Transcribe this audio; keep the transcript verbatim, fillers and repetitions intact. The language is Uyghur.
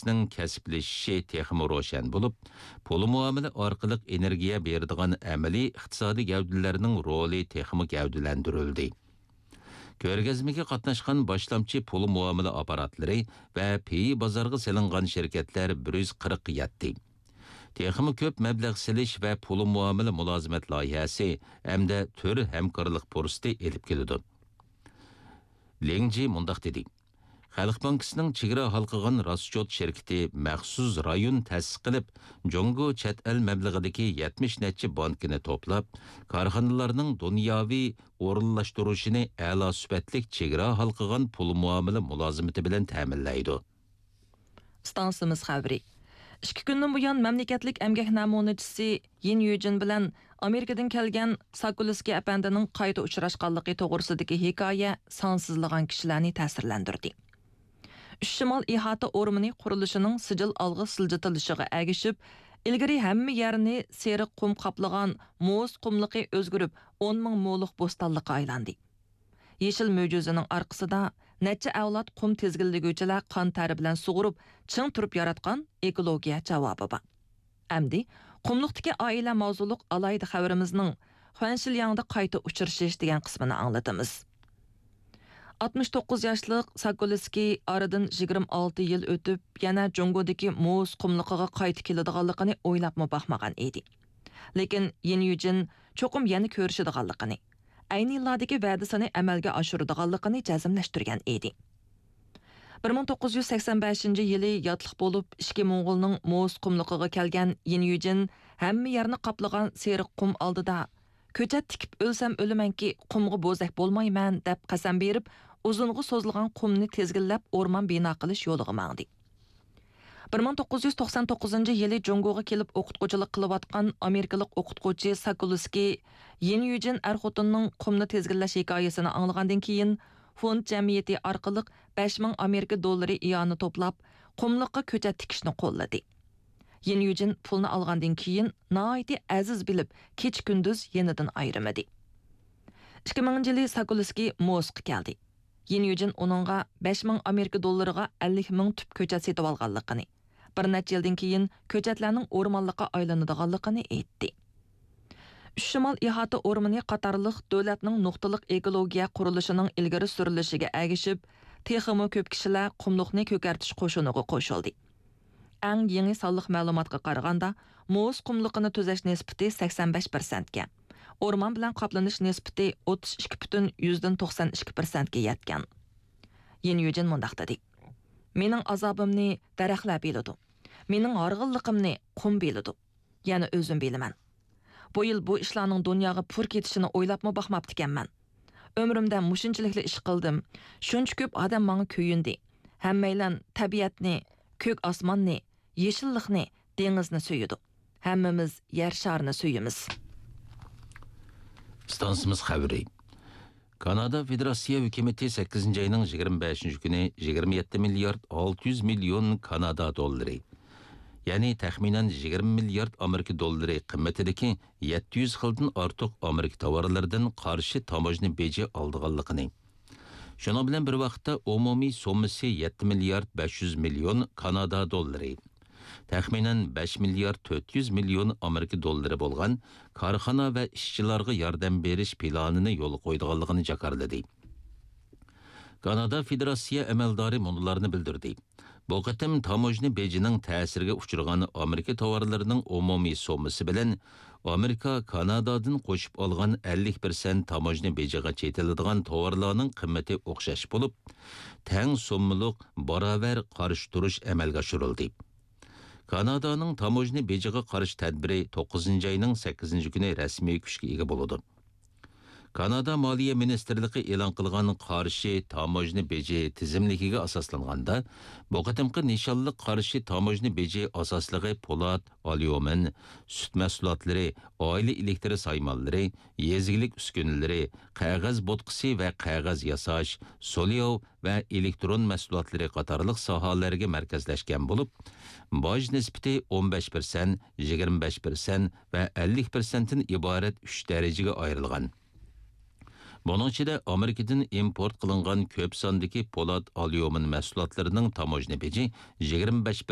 ئىقتىسادىياتنىڭ كەسىپلىشىشى تېخىمۇ روشەن بولۇپ، پۇل مۇئامىلە ئارقىلىق ئېنېرگىيە بېرىدىغان ئەمەلىي ئىقتىسادىي گەۋدىلەرنىڭ رولى تېخىمۇ گەۋدىلەندۈرۈلدى. كۆرگەزمىگە قاتناشقان باشلامچى پۇل مۇئامىلە ئاپپاراتلىرى ۋە پېيى بازارغا سېلىنغان شىركەتلەر بىر يۈز قىرىققا يەتتى. تېخىمۇ كۆپ مەبلەغ سېلىش ۋە پۇل مۇئامىلە مۇلازىمەت لايىھەسى ھەمدە تۈر ھەمكارلىق پۇرسىتى ئېلىپ كېلىدۇ. لىڭ جى مۇنداق دېدى: خەلق بانكىسىنىڭ چېگرا ھالقىغان راسچوت شىركىتى مەخسۇس رايون تەسىس قىلىپ، جۇڭگو چەت ئەل مەبلىغىدىكى يەتمىش نەچچە بانكىنى توپلاپ، كارخانىلارنىڭ دۇنياۋى ئورۇنلاشتۇرۇشىنى ئەلا سۈپەتلىك چېگرا ھالقىغان پۇل مۇئامىلە مۇلازىمىتى بىلەن تەمىنلەيدۇ. ئىستانسىمىز خەۋىرى. ئىككى كۈندىن بۇيان مەملىكەتلىك ئەمگەك نەمۇنىچىسى يىن يۈجىن بىلەن ئامېرىكىدىن كەلگەن ساكۇلسكىي ئەپەندىنىڭ قايتا ئۇچراشقانلىقى توغرىسىدىكى ھېكايە سانسىزلىغان كىشىلەرنى تەسىرلەندۈردى. ئۈچ شىمال ئىھاتە ئورمىنى قۇرۇلۇشىنىڭ سىجىل ئالغا سىلجىتىلىشىغا ئەگىشىپ، ئىلگىرى ھەممە يەرنى سېرىق قۇم قاپلىغان موز قۇملۇقى ئۆزگىرىپ، ئون مىڭ مولۇق بوستانلىققا ئايلاندى. يېشىل مۆجىزىنىڭ ئارقىسىدا نەچچە ئەۋلاد قۇم تىزگىنلىگۈچىلەر قان تەرى بىلەن سۇغۇرۇپ، چىڭ تۇرۇپ ياراتقان ئېكولوگىيە جاۋابى بار. ئەمدى قۇملۇقتىكى ئائىلە ماۋزۇلۇق ئالاھىدە خەۋىرىمىزنىڭ خۇەنشىلياڭدا قايتا ئۇچرىشىش دېگەن قىسمىنى ئاڭلىتىمىز. ئاتمىش توققۇز ياشلىق ساكولسكىي ئارىدىن يىگىرمە ئالتە يىل ئۆتۈپ، يەنە جۇڭگودىكى موز قۇملۇقىغا قايتا كېلىدىغانلىقىنى ئويلاپمۇ باقمىغان ئىدى. لېكىن يىن يۈجىن چوقۇم يەنە كۆرۈشىدىغانلىقىنى، ئەينى يىللاردىكى ۋەدىسىنى ئەمەلگە ئاشۇرىدىغانلىقىنى جەزملەشتۈرگەن ئىدى. بىر مىڭ توققۇز يۈز سەكسەن بەشىنچى يىلى ياتلىق بولۇپ، ئىچكى موڭغۇلنىڭ موز قۇملۇقىغا كەلگەن يىن يۈجىن ھەممە يەرنى قاپلىغان سېرىق قۇم ئالدىدا، «كۆچەت تىكىپ ئۆلسەم ئۆلىمەنكى، قۇمغا بوزەك بولمايمەن» دەپ قەسەم بېرىپ، ئۇزۇنغا سوزۇلغان قۇمنى تىزگىنلەپ، ئورمان بىنا قىلىش يولىغا ماڭدى. بىر مىڭ توققۇز يۈز توقسان توققۇزىنچى يىلى جۇڭگوغا كېلىپ ئوقۇتقۇچىلىق قىلىۋاتقان ئامېرىكىلىق ئوقۇتقۇچى ساكولسكىي يىن يۈجىن ئەر-خوتۇننىڭ قۇمنى تىزگىنلەش ھېكايىسىنى ئاڭلىغاندىن كېيىن، فوند جەمئىيىتى ئارقىلىق بەش مىڭ ئامېرىكا دوللىرى ئىئانە توپلاپ، قۇملۇققا كۆچەت تىكىشنى قوللىدى. يىن يۈجىن پۇلنى ئالغاندىن كېيىن، ناھايىتى ئەزىز بىلىپ، كېچە-كۈندۈز يېنىدىن ئايرىمىدى. ئىككى مىڭىنچى يىلى ساكولسكىي موسكا كەلدى. يىن يۈجىن ئۇنىڭغا بەش مىڭ ئامېرىكا دوللىرىغا ئەللىك مىڭ تۈپ كۆچەت سېتىۋالغانلىقىنى، بىر نەچچە يىلدىن كېيىن كۆچەتلەرنىڭ ئورمانلىققا ئايلىنىدىغانلىقىنى ئېيتتى. ئۈچ شىمال ئىھاتە ئورمىنى قاتارلىق دۆلەتنىڭ نۇقتىلىق ئېكولوگىيە قۇرۇلۇشىنىڭ ئىلگىرى سۈرۈلۈشىگە ئەگىشىپ، تېخىمۇ كۆپ كىشىلەر قۇملۇقنى كۆكەرتىش قوشۇنىغا قوشۇلدى. ئەڭ يېڭى سانلىق مەلۇماتقا قارىغاندا، موز قۇملۇقىنى تۈزەش نىسبىتى سەكسەن بەش پىرسەنتكە، ئورمان بىلەن قاپلىنىش نىسبىتى ئوتتۇز ئىككى پۈتۈن يۈزدىن توقسان ئىككى پىرسەنتكە يەتكەن. يىن يۈجىن مۇنداق دېدى: «مېنىڭ ئازابىمنى دەرەخلەر بىلىدۇ، مېنىڭ ھارغىنلىقىمنى قۇم بىلىدۇ، يەنە ئۆزۈم بىلىمەن. بۇ يىل بۇ ئىشلارنىڭ دۇنياغا پۇر كېتىشىنى ئويلاپمۇ باقماپتىكەنمەن. ئۆمرۈمدە مۇشۇنچىلىكلا ئىش قىلدىم. شۇنچە كۆپ ئادەم ماڭا كۆيۈندى. ھەممەيلەن تەبىئەتنى، كۆك ئاسماننى، يېشىللىقنى، دېڭىزنى سۆيىدۇ. ھەممىمىز يەر شارىنى سۆيىمىز.» ئىستانسىمىز خەۋىرى. كانادا فېدېراتسىيە ھۆكۈمىتى سەككىزىنچى ئاينىڭ يىگىرمە بەشىنچى كۈنى يىگىرمە يەتتە مىليارد ئالتە يۈز مىليون كانادا دوللىرى، يەنى تەخمىنەن يىگىرمە مىليارد ئامېرىكا دوللىرى قىممىتىدىكى يەتتە يۈز خىلدىن ئارتۇق ئامېرىكا تاۋارلىرىدىن قارشى تاموژنا بېجى ئالىدىغانلىقىنى، شۇنىڭ بىلەن بىر ۋاقىتتا ئومۇمىي سوممىسى يەتتە مىليارد بەش يۈز مىليون كانادا دوللىرى، تەخمىنەن بەش مىليارد تۆت يۈز مىليون ئامېرىكا دوللىرى بولغان كارخانا ۋە ئىشچىلارغا ياردەم بېرىش پىلانىنى يولغا قويىدىغانلىقىنى جاكارلىدى. كانادا فېدېراتسىيە ئەمەلدارى مۇنۇلارنى بىلدۈردى: بۇ قېتىم تاموژنا بېجىنىڭ تەسىرىگە ئۇچرىغان ئامېرىكا تاۋارلىرىنىڭ ئومۇمىي سوممىسى بىلەن ئامېرىكا كانادادىن قوشۇپ ئالغان ئەللىك پىرسەنت تاموژنا بېجىغا چېتىلىدىغان تاۋارلارنىڭ قىممىتى ئوخشاش بولۇپ، تەڭ سوممىلىق باراۋەر قارشى تۇرۇش ئەمەلگە ئاشۇرۇلدى. كانادانىڭ تاموژنا بېجىغا قارشى تەدبىرى توققۇزىنچى ئاينىڭ سەككىزىنچى كۈنى رەسمىي كۈچكە ئىگە بولىدۇ. كانادا مالىيە مىنىستىرلىقى ئېلان قىلغان قارشى تاموژنا بېجى تىزىملىكىگە ئاساسلانغاندا، بۇ قېتىمقى نىشانلىق قارشى تاموژنا بېجى ئاساسلىقى پولات، ئاليۇمىن، سۈت مەھسۇلاتلىرى، ئائىلە ئېلېكتر سايمانلىرى، يېزا ئىگىلىك ئۈسكۈنىلىرى، قەغەز بوتقىسى ۋە قەغەز ياساش، سولياۋ ۋە ئېلېكترون مەھسۇلاتلىرى قاتارلىق ساھەلەرگە مەركەزلەشكەن بولۇپ، باج نىسبىتى ئون بەش پىرسەنت، يىگىرمە بەش پىرسەنت ۋە ئەللىك پىرسەنتتىن ئىبارەت ئۈچ دەرىجىگە ئايرىلغان. بۇنىڭ ئىچىدە ئامېرىكىدىن ئىمپورت قىلىنغان كۆپ ساندىكى پولات، ئاليۇمىن مەھسۇلاتلىرىنىڭ تاموژنا بېجى يىگىرمە بەش